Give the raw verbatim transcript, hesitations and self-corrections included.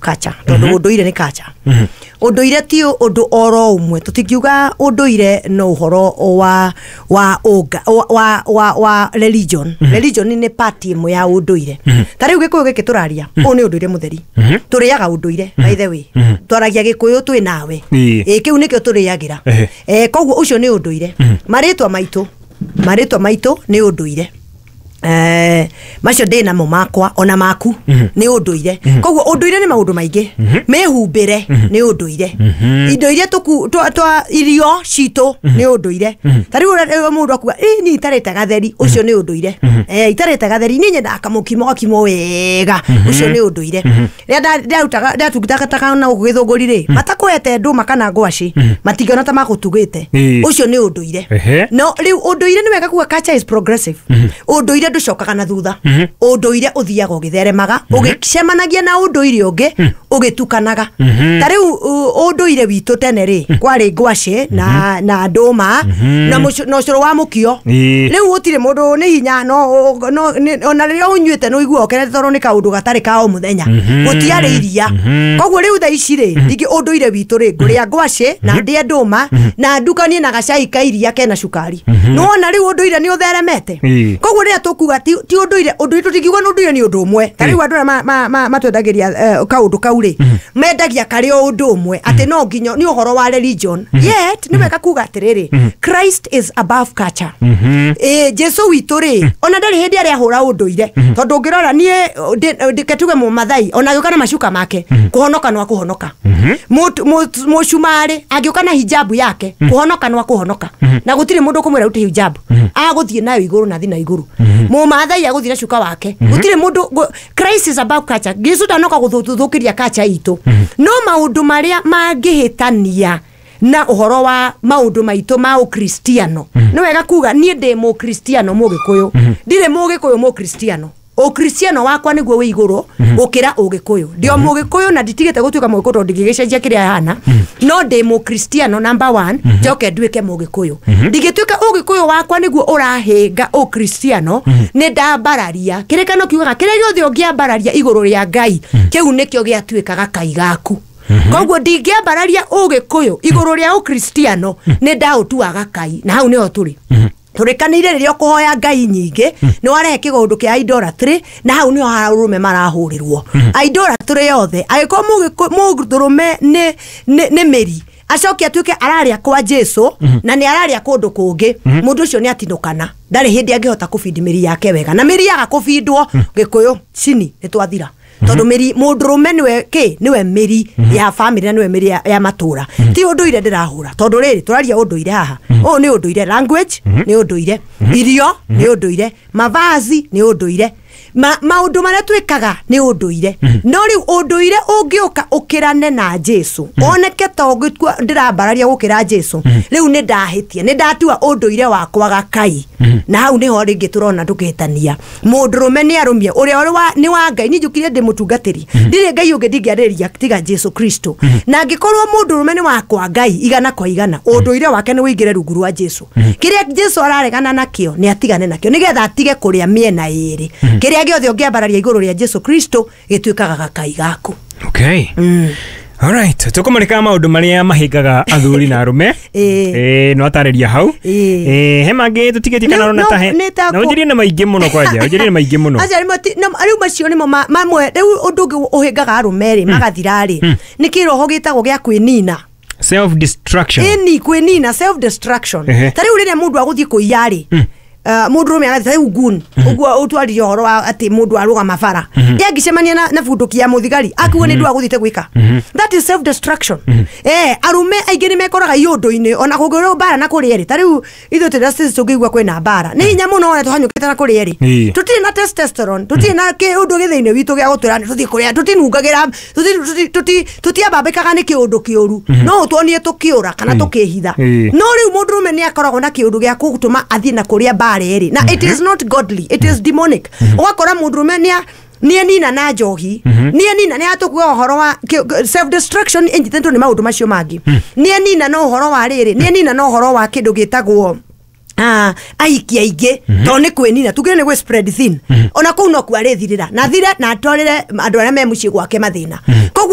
culture, tondũ ũndũire nĩ culture. Ũndũire ti ũndũ oro ũmwe. Tũtingiuga ũndũire no ũhoro wa wa ũnga wa wa, wa, wa religion. Religion nĩ part ĩmwe ya ũndũire. Ta rĩu Gĩkũyũ gĩkĩ tũraria, ũyũ nĩ ũndũire mũtheri. Tũrĩaga ũndũire, by the way. Twaragia Gĩkũyũ twĩ nawe. Ĩĩ. Ĩ, kĩu nĩkĩo tũrĩagĩra. Ehe. Eh, koguo ũcio nĩ ũndũire. Marĩtwa maitũ, marĩtwa maitũ nĩ ũndũire. Eh, macio ndĩ namo makwa ona maku nĩ ũndũire. Koguo ũndũire nĩ maũndũ maingĩ. Mĩhumbĩre nĩ ũndũire, indo iria tũku twa twa irio citũ nĩ ũndũire. Ta rĩu ũrĩa mũndũ akuga, "Ĩ, niĩ itarĩte gatheri," ũcio nĩ ũndũire. Eh, itarĩte gatheri, niĩ nyendaga kamũkimo gakimwo wega, ũcio nĩ ũndũire. Rĩrĩa nda- ndarutaga ndatungataga na gũkũ Gĩthũngũri rĩ, matakũhete ndũma kana ngwacĩ, matingĩona ta makũtugĩte. Ĩĩ. Ũcio nĩ ũndũire. Ehe. No rĩu ũndũire, nĩ wega kuga culture is progressive. Ũndũire ndũcokaga na thutha. Ũndũire ũthiaga ũgĩtheremaga, ũgĩcemanagia na ũndũire ũngĩ, ũgĩtukanaga. Ta rĩu ũ- ũndũire witũ tene rĩ, kwarĩ ngwacĩ na na ndũma na mũcu- na ũcũrũ wa mũkio. Ĩĩ. Rĩu gũtirĩ mũndũ nĩ hinya no, no nĩ- ona rĩrĩa ũnyuĩte nĩ ũiguaga ũkenete, tondũ nĩ kaũndũ gatarĩ ka o mũthenya. Gũtiarĩ iria. Koguo rĩu thaa ici rĩ, ndingĩ ũndũire witũ rĩ, ngũrĩa ngwacĩ na ndĩe ndũma na ndukanie na gacai ka iria kena cukari. Nĩwona rĩu ũndũire nĩ ũtheremete. Ĩĩ. Koguo rĩrĩa tũkuga ti ti ũndũire, ũndũire, tũtingiuga nĩ ũndũire nĩ ũndũ ũmwe. Ta rĩu andũ arĩa ma- ma- ma- matwendagĩria eh, kaũndũ kau rĩ, mendagia karĩ o ũndũ ũmwe, atĩ no nginya nĩ ũhoro wa religion. Yet nĩ wega kuga atĩrĩrĩ, Christ is above culture. Ĩ, Jesu witũ rĩ, ona ndarĩ hĩndĩ arĩa ahũra ũndũire, tondũ ũngĩrora niĩ ndĩ- ndĩ- tuge Mũmathai ona agĩũka na macuka make, kũhonoka no akũhonoka. Mũtu- mũtu- mũcumarĩ angĩũka na hijabu yake, kũhonoka no akũhonoka, na gũtirĩ mũndũ ũkũmwĩra rute hijabu, agũthiĩ nayo igũrũ na thi na igũrũ. Mũmathai agũthiĩ na cuka wake, gũtirĩ mũndũ gũ- Christ is above culture. Jesu ndanoka gũthũkĩria culture itũ, no maũndũ marĩa mangĩhĩtania na ũhoro wa maũndũ maitũ ma ũkristiano, nĩ wega kuga niĩ ndĩ Mũkristiano Mũgĩkũyũ, ndirĩ Mũgĩkũyũ Mũkristiano. Ũkristiano wakwa nĩguo wĩ igũrũ gũkĩra Ũgĩkũyũ. Ndĩ o Mũgĩkũyũ na nditigĩte gũtuĩka Mũgĩkũyũ, tondũ ndingĩgĩcenjia kĩrĩa hana, no ndĩ Mũkristiano number one, njoke nduĩke Mũgĩkũyũ. Ndingĩtuĩka Ũgĩkũyũ wakwa nĩguo ũrahĩnga Ũkristiano, nĩ ndambararia. Kĩrĩkano kiugaga kĩrĩa gĩothe ũngĩambararia igũrũ rĩa Ngai, kĩu nĩkĩo gĩatuĩkaga kai gaku. Koguo ndingĩambararia Ũgĩkũyũ igũrũ rĩa Ũkristiano, nĩ ndaũtuaga kai, na hau nĩho tũrĩ tũrĩkanĩire. Rĩrĩa ũkũhoya ngai nyingĩ, nĩ warehe kĩgũndũ kĩa idolatry, na hau nĩho arũme marahũrĩrwo idolatry yothe. Angĩkorwo mũgĩkũ- mũndũrũme nĩ nĩ nĩ mĩri, acoke atuĩke ararĩa kwa Jesu na nĩ ararĩa kũndũ kũngĩ, mũndũ ũcio nĩ atinũkana. Ndarĩ hĩndĩ angĩhota kũbindi mĩri yake wega, na mĩri yaga kũbindwo, Gĩkũyũ cini nĩ twathira, tondũ mĩri, mũndũrũme nĩwe kĩ nĩwe mĩri ya family na nĩwe mĩri ya, ya matũra. Ti ũndũire ndĩrahũra, tondũ rĩrĩ tũraria ũndũire haha, ũyũ nĩ ũndũire. Language nĩ ũndũire, irio nĩ ũndũire, mavazi nĩ ũndũire, ma maũndũ marĩa twĩkaga nĩ ũndũire. No rĩu ũndũire ũngĩũka ũkĩrane na Jesu, oneke ta ũngĩtua ndĩrambararia gũkĩra Jesu, rĩu nĩ ndahĩtia, nĩ ndatua ũndũire wakwa gakai, na hau nĩho rĩngĩ tũrona tũkĩhĩtania. Mũndũrũme nĩ arũmie ũrĩa ũrĩ wa- nĩ wa Ngai. Niĩ njũkire ndĩ mũtungatĩri, ndirĩ Ngai ũngĩ ndingĩarĩria tiga Jesu Kristo. Na angĩkorwo mũndũrũme nĩ wakwa Ngai igana kwa igana, ũndũire wake nĩ ũingĩre rungu rwa Jesu. Kĩrĩa Jesu araregana nakĩo nĩ atigane nakĩo, nĩgetha atige kũrĩa mĩena ĩrĩ. Kĩrĩa gĩothe ũngĩambararia igũrũ rĩa Jesu Kristo gĩtuĩkaga gakai gaku. Okay, alright, tukumurika maundu maria mahingaga athuri na arume. Ĩĩ. Eh, no atarĩria hau. Ĩĩ. Eh, he mangĩ tũtigĩtie kana No- ũrona no, ta he nĩ ta na kũ- ũnjĩrie na maingĩ mũno, kwanja ũnjĩrie na maingĩ mũno. Aca, rĩmwe ti- no, rĩu macio nĩmo ma- mamwe. Rĩu ũndũ ũngĩ ũhĩngaga arũme rĩ magathira rĩ, nĩ kĩroho gĩtagwo gĩa kwĩnina. Self destruction. Ĩni, kwĩnina, self destruction. Ehe. Ta rĩu rĩrĩa mũndũ agũthiĩ kũiya rĩ, Uh, mũndũrũme agathiĩ, ta rĩu ngun ũguo ũtwaririe ũhoro wa atĩ mũndũ arũgama bara, ye angĩcemania na, na bunduki ya mũthigari, akuo nĩ ndũ agũthiĩte gwĩka. That is self destruction. Eh, arũme aingĩ nĩ mekoraga iũndũ-inĩ ona kũngĩrwo mbara na kũrĩa rĩ. Ta rĩu ithuĩ tũrĩ na tũngĩigua kwĩna mbara, nĩ hinya mũno ona tũhanyũkĩte na kũrĩa rĩ. Ĩĩ. Tũtirĩ na testosterone, tũtirĩ na kĩũndũ gĩ thĩinĩ witũ gĩa gũtwĩra nĩ tũthiĩ kũrĩa, tũtinungagĩra, tũti- tũti- tũti- tũtiambambĩkaga nĩ kĩũndũ kĩũru, no ũtuonie tũkĩũra kana tũkĩhitha. Ĩĩ. No rĩu mũndũrũme nĩ akoragwo na kĩũndũ gĩa gũtũma athiĩ na kũrĩa mbara ĩrĩ, na it is not godly, it is demonic. Ũgakora mũndũrũme nĩ nĩ enina na njohi, nĩ enina, nĩ atũkuga ũhoro wa self destruction ĩnyitĩtwo nĩ maũndũ macio mangĩ, nĩ enina na ũhoro wa rĩrĩ, nĩ enina na ũhoro wa kĩndũ gĩtagwo Ah, ahiki aingĩ, tondũ nĩ kwĩnina, tugire nĩ gwĩ spread thin. Ona kũu no kuo arĩthirĩra na thire na atwarĩre andũ arĩa me mũciĩ gwake mathĩna. Koguo